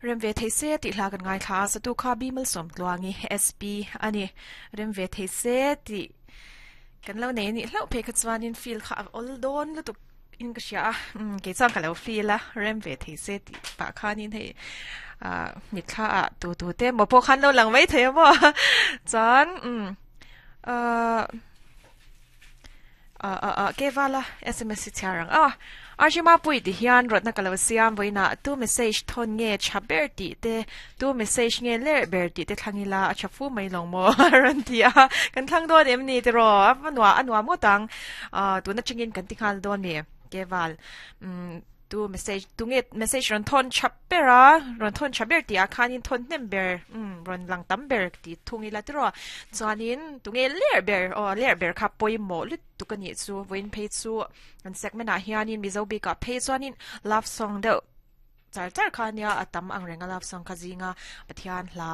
Rem ve thei se tih hla kan ngaithla a, satu kha Bimal Sawmtluangi, SP, a ni. Rem ve thei se tih kan lo nei anih hlauh phei kha chuanin feel kha a awl dawn lutuk in ka hria a, umm kei chuan ka lo feel a, rem ve thei se tih pah khanin hei ah mitthla ah tu tu te emaw pawh khan lo lang mai thei a maw chuan umm ah. Ah ah ah Kevala sms hi chhiar ang a. RG Mapui ti hian rawtna ka lo siam vawiinah tu message thawn nge tha ber tih te tu message nge ler ber tih te thlang ila a tha fu mai lo maw a rawn ti a. Kan thlang dawn em ni tiraw a nuah a nuam ngawt ang. Ah tun atangin kan ti nghal dawn mi Keval umm Tu message tu nge message rawn thawn tha ber a rawn thawn tha ber tih ah khanin thawn hnem ber umm rawn lang tam ber tih thung ila tiraw chuanin tu nge ler ber aw ler ber kha pawimawh lutuk a nih chu vawiin phei chu kan segment ah hianin mizo bikah phei chuanin love song deuh char char kha ania a tam ang reng a love song kha zinga Pathian hla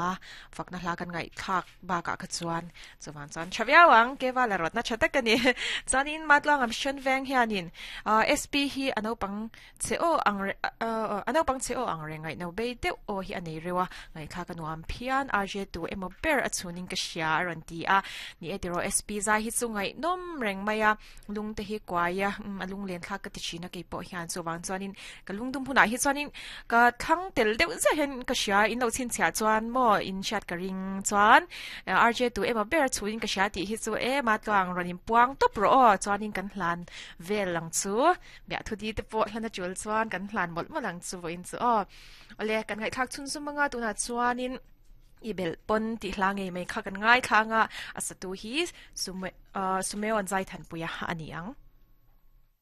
fakna hla kan ngaihthlak bakah kha chuan Chuvang chuan tha viau ang, Keva la rawtna tha tak a ni. Chuanin Matluang Mission Veng hianin SP hi a naupang che aw ang a naupang che aw ang reng ngaihno bei deuh aw hi a nei reuh a, ngaihthlak a nuam phian, RJ tu emaw ber a chhunin ka hria a rawn ti a. Ni e tiraw SP zai hi chu ngaihnawm reng mai a, lung te hi kuai a, a lunglen thlak ka ti thin a keipawh hian chuvang chuanin ka lungdum hunah hi chuanin ka thlang tel deuh zet hian ka hria in lo chhinchhiah chuan maw in hriat ka ring chuan RJ tu emaw ber a chhuin ka hria tih hi chu em a tluang rawn in puang tawp rawh aw chuanin kan hlan vel ang chu miah thu di te pawh hlan a tul chuan kan hlan mawlh mawlh ang chu vawiin chu aw awle kan ngaihthlak chhun zum anga tunah chuanin I belh pawn tih hla ngei mai kha kan ngaithla anga a satu hi Sumeon Zaithanpuia a ni ang.